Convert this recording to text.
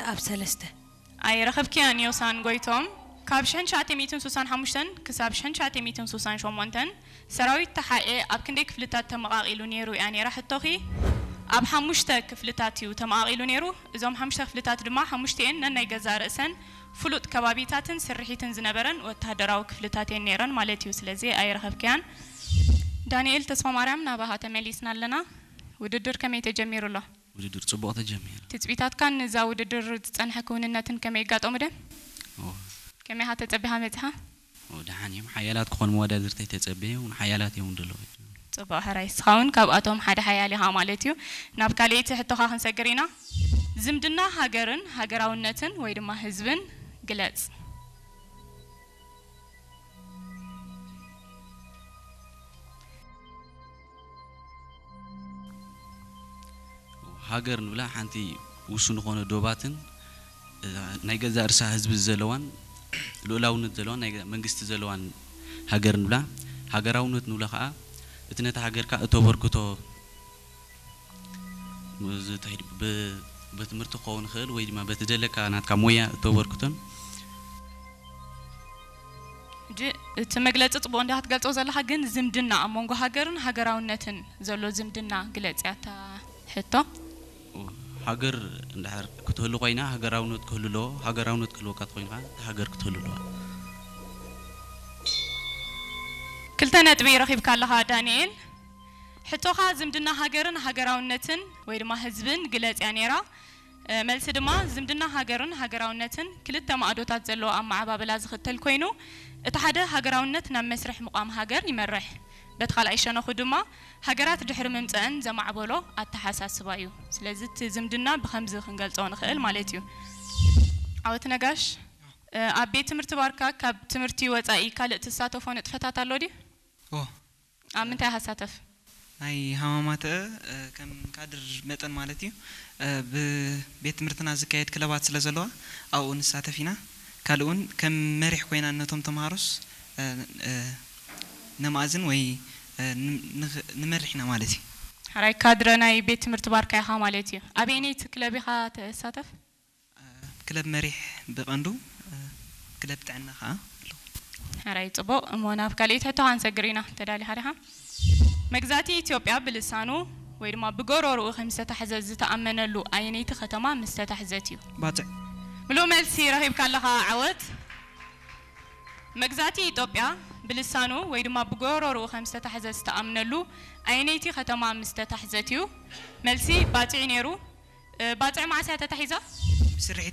ኣብ ሰለስተ። ኣይረኸብክያን ዮሳን ጎይቶም። ካብ ሽሕን ትሽዓተ ሚእትን ስሳን ሓሙሽተን ክሳብ ሽሕን ትሽዓተ ሚእትን ስሳን ሸሞንተን ሰራዊት ተሓኤ ኣብ ክንደይ ክፍልታት ተመቓቒሉ ነይሩ እያ ነይራ ሕቶኺ። ኣብ ሓሙሽተ ክፍልታት እዩ ተመቓቒሉ ነይሩ። እዞም ሓሙሽተ ክፍልታት ድማ ሓሙሽቲኤን ነናይ ገዛእ ርእሰን ፍሉጥ ከባቢታትን ስርሒትን ዝነበረን ወታደራዊ ክፍልታት እየን ነይረን ማለት እዩ። ስለዚ ኣይረኸብክያን። ዳንኤል ተስፋማርያም፣ ናባኻ ተመሊስና ኣለና። ውድድር ከመይ ተጀሚሩ ኣሎ? ውድድር ጽቡቕ ተጀሚሩ። ትጽቢታትካ ንዛ ውድድር ዝጸንሐ ክውንነትን ከመይ ይጋጠሙ ደ? ኦ፣ ከመይ ኢኻ ተጸቢኻ መጺኻ? ኦ፣ ደሓን እዮም። ሓያላት ክኾኑ መወዳድርተይ ተጸበየ እውን ሓያላት እዮም ዘለዉ። ጽቡቕ ሕራይ። ንስኻ እውን ካብኣቶም ሓደ ሓያል ኢኻ ማለት እዩ። ናብ ካልኣይቲ ሕቶኻ ክንሰግር ኢና። ዝምድና ሃገርን ሃገራውነትን ወይ ድማ ህዝብን ግለጽ። ሃገር ንብላ ሓንቲ ውሱን ዝኾነ ዶባትን፣ እ፣ ናይ ገዛእ ርሳ ህዝቢ ዘለዋን ልኡላውነት ዘለዋን ናይ ገ-፣ መንግስቲ ዘለዋን ሃገር ንብላ። ሃገራውነት ንብላ ከዓ እቲ ነታ ሃገርካ እተበርክቶ፣ እዚ እንታይ ድ-፣ ብ-፣ በትምህርቲ ክኸውን ይኽእል ወይ ድማ በቲ ዘለካ ናትካ ሞያ እተበርክቶን። ሕጂ እቲ መግለጺ ጽቡቕ እንዲኻ ክትገልጾ ዘለኻ፣ ግን ዝምድና ኣብ መንጎ ሃገርን ሃገራውነትን ዘሎ ዝምድና ግለጽ እያ እታ ሕቶ። ሃገር እንድሕር ክትህሉ ኮይና ሃገራውነት ክህሉ ኣለዎ። ሃገራውነት ክህልወካ ተኮይንካ እታ ሃገር ክትህሉ ኣለዋ። ክልተ ነጥቢ ረኺብካ ኣለኻ ዳንኤል። ሕቶኻ ዝምድና ሃገርን ሃገራውነትን ወይ ድማ ህዝብን ግለጽ እያ ነይራ። እ፣ መልሲ ድማ ዝምድና ሃገርን ሃገራውነትን ክልተ ማእዶታት ዘለዎ ኣመዓባብላ ዝኽተል ኮይኑ፣ እቲ ሓደ ሃገራውነት ናብ መስርሕ ምቋም ሃገር ይመርሕ። በቲ ካልኣይ ሸነኹ ድማ ሃገራት ድሕሪ ምምጸአን ዘማዕበሎ ኣተሓሳስባ እዩ። ስለዚ እቲ ዝምድና ብኸምዚ ክንገልጾ ንኽእል ማለት እዩ። ዓወት ነጋሽ፣ እ፣ ኣብ ቤት ትምህርቲ ባርካ ካብ ትምህርቲ ወጻኢ ካልእ ትሳተፎ ንጥፈታት ኣሎ ድዩ? ኦ ኣብ ምንታይ ኢኻ ትሳተፍ? ናይ ሃማማተ፣ እ፣ ከም ካድር መጠን ማለት እዩ። እ፣ ብቤት ትምህርትና ዝካየድ ክለባት ስለ ዘለዋ ኣብኡ ንሳተፍ ኢና። ካልእ እውን ከም መሪሕ ኮይና ነቶም ተምሃሮስ፣ እ፣ እ፣ ነማእዝን ወይ፣ እ፣ ን-፣ ንኽ-፣ ንመርሕ ኢና ማለት እዩ። ሕራይ፣ ካድረ ናይ ቤት ትምህርቲ ባርካ ኢኻ ማለት እዩ። ኣበየነይቲ ክለብ ኢኻ ትሳተፍ? ክለብ መሪሕ ብቐንዱ፣ እ፣ ክለብ ጥዕና ከዓ ኣለዎ። ሕራይ፣ ጽቡቕ። እሞ ናብ ካልኣይቲ ሕቶ ክንሰግር ኢና። ተዳሊኻ ዲኻ? መግዛእቲ ኢትዮጵያ ብልሳኑ ወይ ድማ ብጎሮርኡ ከም ዝተታሕዘ ዝተኣመነሉ ኣየነይቲ ከተማ ምስ ተታሕዘት እዩ? ባጽዕ። ምሉእ መልሲ ረኺብካ ኣለኻ ዓወት። መግዛእቲ ኢትዮጵያ ብልሳኑ ወይ ድማ ብጎሮርኡ ከም ዝተታሕዘ ዝተኣምነሉ ኣየነይቲ ከተማ ምስ ተታሕዘት እዩ? መልሲ ባጽዕ እዩ ነይሩ። እ፣ ባጽዕ መዓስ እያ ተታሒዛ? ብስርሒት